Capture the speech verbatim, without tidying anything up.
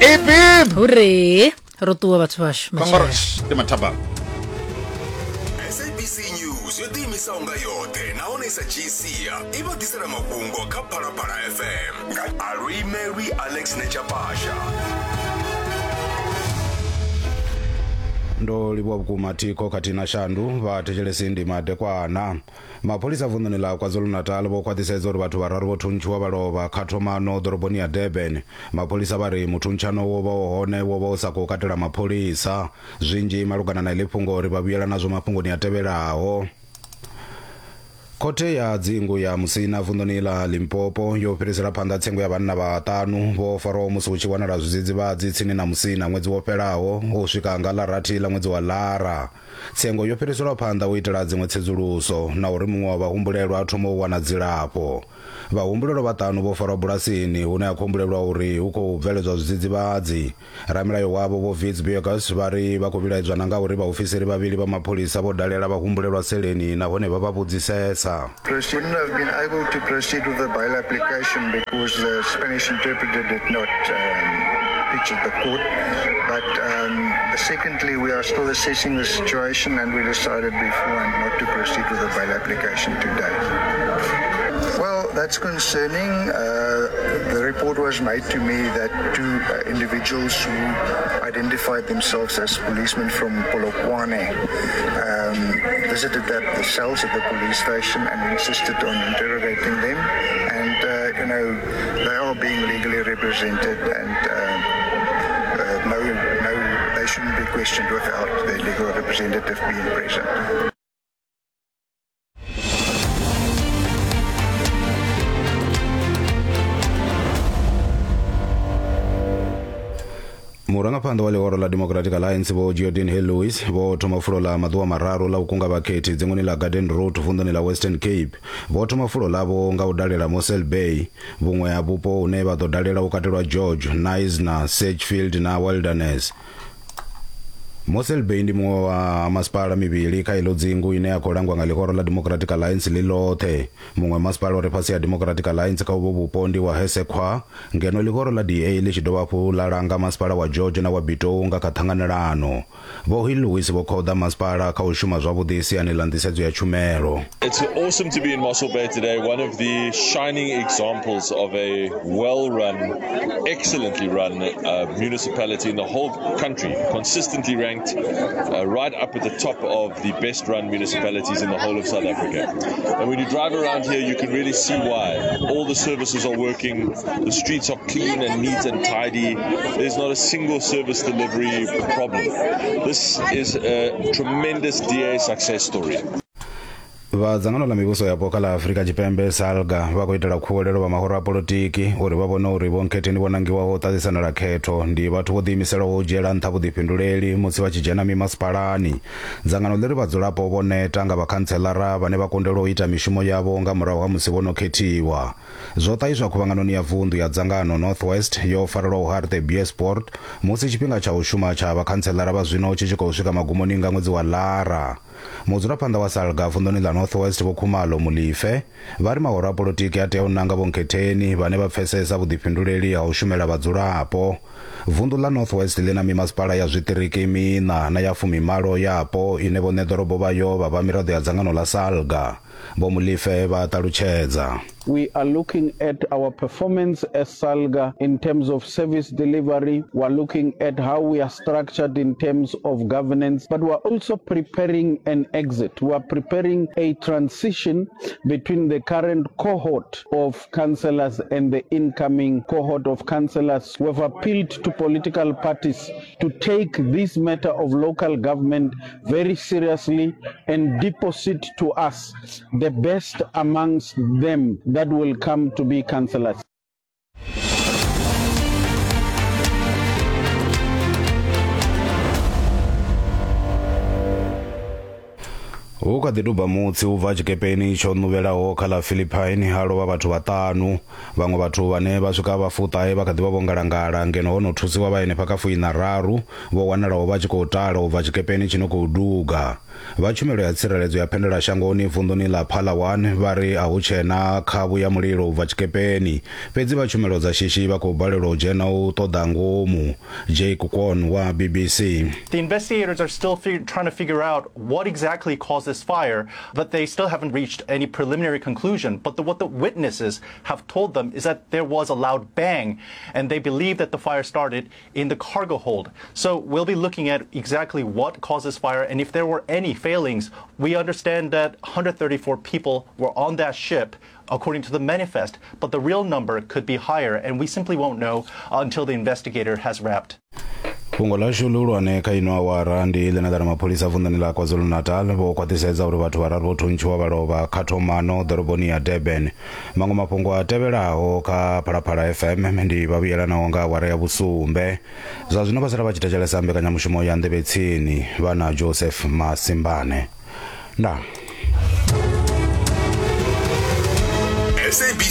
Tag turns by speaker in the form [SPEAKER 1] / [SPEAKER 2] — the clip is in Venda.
[SPEAKER 1] Ipip.
[SPEAKER 2] Hore ro ṱuwa vhathu vhashu.
[SPEAKER 1] Kongorosh ndi mathaba.
[SPEAKER 3] S A B C News yo ḓiimisaho nga yoṱhe nahone sa G C i vha ḓisela mafhungo kha Phalaphala F M nga Aluimelwi Alex Nechapasha.
[SPEAKER 4] Ndo livhuwa vhukuma thikho khathihi na shandu vha thetshelesi ndi madekwana. Mapholisa vunḓuni ḽa KwaZulu-Natal vho khwaṱhisedza uri vhathu vhararu vho thuntshiwa vha lovha kha thomano ḓoroboni ya Durban. Mapholisa vha ri muthuntshaṋo wo vha hone wo vha u sa khou katela mapholisa. Zwinzhi malugana na iḽi fhungo ri vha vhuyela nazwo mafhungoni a tevhelaho. Khothe ya dzingu ya Musina vunḓuni ḽa Limpopo yo fhirisela phanḓa tsengo ya vhanna vhaṱanu vho farwaho musi hu tshi wanala zwidzidzivhadzi tsini na Musina ṅwedzi wo fhelaho u swika nga ḽa rathi ḽa ṅwedzi wa Lara. Tsengo yo fhiriselwa phanḓa u itela dziṅwe tsedzuluso na uri muṅwe wa vhahumbulelwa a thome u wana dzilafho. Vhahumbulelwa vhaṱanu vho farwa bulasini hune ha khou humbulelwa uri hu khou bveledzwa zwidzidzivhadzi. Ramilayo wavho Vho Wits Burgers vha ri vha khou vhilaedzwa na nga uri vhaofisiri vhavhili vha mapholisa vho dalela vhahumbulelwa seleni nahone vha vha vhudzisesa.
[SPEAKER 5] Wouldn't have been able to proceed with the bail application because the Spanish interpreter did not um, pitch at the court. But um, secondly, we are still assessing the situation and we decided beforehand not to proceed with the bail application today. Well, that's concerning. Uh, the report was made to me that two uh, individuals who identified themselves as policemen from Polokwane um, visited the, the cells at the police station and insisted on interrogating them. And, uh, you know, they are being legally represented and uh, uh, no, no, they shouldn't be questioned without their legal representative being present.
[SPEAKER 4] Murangaphanḓa wa ḽihoro ḽa Democratic Alliance Vho Geordin Hill-Lewis vho thoma fulo ḽa maḓuvha mararu ḽa u kunga vhakhethi dzinguni ḽa Garden Route vunḓuni ḽa Western Cape. Vho thoma fulo ḽavho nga u dalela Mossel Bay. Vhuṅwe ha vhupo hune vha ḓo dalela u katelwa George, Knysna, Sedgefield na Wilderness. Mossel Bay ndi muṅwe wa masipala mivhili kha ilo dzingu ine ya khou langwa nga ḽihoro ḽa Democratic Alliance ḽi ḽoṱhe. Muṅwe masipala uri fhasi ya Democratic Alliance kha uvho vhupo ndi wa Hesekwa, ngeno ḽihoro ḽa D A ḽi tshi dovha hafhu ḽa langa masipala wa George na wa Bitou nga kha ṱhanganelano. Vho Hill-Lewis vho khoḓa masipala kha u shuma zwavhuḓi siani ḽa nḓisedzo ya tshumelo.
[SPEAKER 6] It's awesome to be in Mossel Bay today, one of the shining examples of a well-run, excellently run uh, municipality in the whole country, consistently ranked Uh, right up at the top of the best run municipalities in the whole of South Africa. And when you drive around here, you can really see why. All the services are working, the streets are clean and neat and tidy. There's not a single service delivery problem. This is a tremendous D A success story.
[SPEAKER 4] Vha dzangano ḽa mivhuso yapo kha ḽa Afrika Tshipembe SALGA vha khou itela khuwelelo vha mahoro a polotiki uri vha vhone uri vho nkhetheni vho nangiwaho u ṱaṱisanela khetho ndi vhathu vho ḓiimiselaho u dzhiela nṱha vhuḓifhinduleli musi vha tshi dzhena mimasipalani. Dzangano ḽi ri vhadzulapo vho neta nga vhakhantselara vhane vha kundelwa u ita mishumo yavho nga murahu ha musi vho no khethiwa. Zwo ṱahiswa khuvhanganoni ya vunḓu ya dzangano North West yo farelwaho Hartbeespoort musi tshifhinga tsha u shuma tsha vhakhantselara vha zwino tshi tshi khou swika magumoni nga ṅwedzi wa Lara. Mudzulaphanḓa wa SALGA vunḓuni ḽa North West Vho Khumalo Mulife vha ri mahoro a polotiki a tea u nanga vhonkhetheni vhane vha pfesesa vhuḓifhinduleli ha u shumela vhadzulapo. Vunḓu ḽa North West ḽi na mimasipala ya zwiṱiriki miṋa na ya fumimalo yapo ine vhoṋe ḓorobo vhayo vha vha miraḓo ya dzangano ḽa SALGA. Vho Mulife vha ṱalutshedza.
[SPEAKER 7] We are looking at our performance as SALGA in terms of service delivery. We are looking at how we are structured in terms of governance, but we are also preparing an exit. We are preparing a transition between the current cohort of councillors and the incoming cohort of councillors. We have appealed to political parties to take this matter of local government very seriously and deposit to us the best amongst them that will come to be councillors.
[SPEAKER 4] Hu Hu kha ḓi duba mutsi u bva tshikepeni tsho ṋuvhelaho kha ḽa Philippine ha lovha vhathu vhaṱanu. Vhaṅwe vhathu vhane vha swika vha fuṱahe vha kha ḓi vha vho ngalangala ngeno ho no thusiwa vha henefha kha fuiṋa raru vho wanalaho vha tshi khou tala u bva tshikepeni tshi no khou duga. Vha tshumelo ya tsireledzo ya phendelashangoni vunḓuni ḽa Palawan vha ri a hu tshena khavhu ya mulilo u bva tshikepeni, fhedzi vha tshumelo dza shishi vha khou balelwa u dzhena u ṱoḓa ngomu. Jake Kwon wa B B C.
[SPEAKER 8] The investigators are still fig- trying to figure out what exactly caused this fire, but they still haven't reached any preliminary conclusion. But the, what the witnesses have told them is that there was a loud bang, and they believe that the fire started in the cargo hold. So we'll be looking at exactly what caused this fire and if there were any failings. We understand that one hundred thirty-four people were on that ship, according to the manifest, but the real number could be higher, and we simply won't know until the investigator has wrapped.
[SPEAKER 4] Fhungo ḽashu ḽihulwane kha ino awara ndi ḽine ḽa ri mapholisa vunḓuni ḽa KwaZulu-Natal vho khwaṱhisedza uri vhathu vhararu vho thuntshiwa vha lovha kha thomano ḓoroboni ya Durban. Maṅwe mafhungo a tevhelaho kha Phalaphala F M ndi vha vhuyelanaho nga awara ya vhusumbe. Zwa zwino vha sala vha tshi thetshelesa mbekanyamushumo ya Nḓevhe Tsini vha na Joseph Masimbane. Ndaa.
[SPEAKER 3] S A B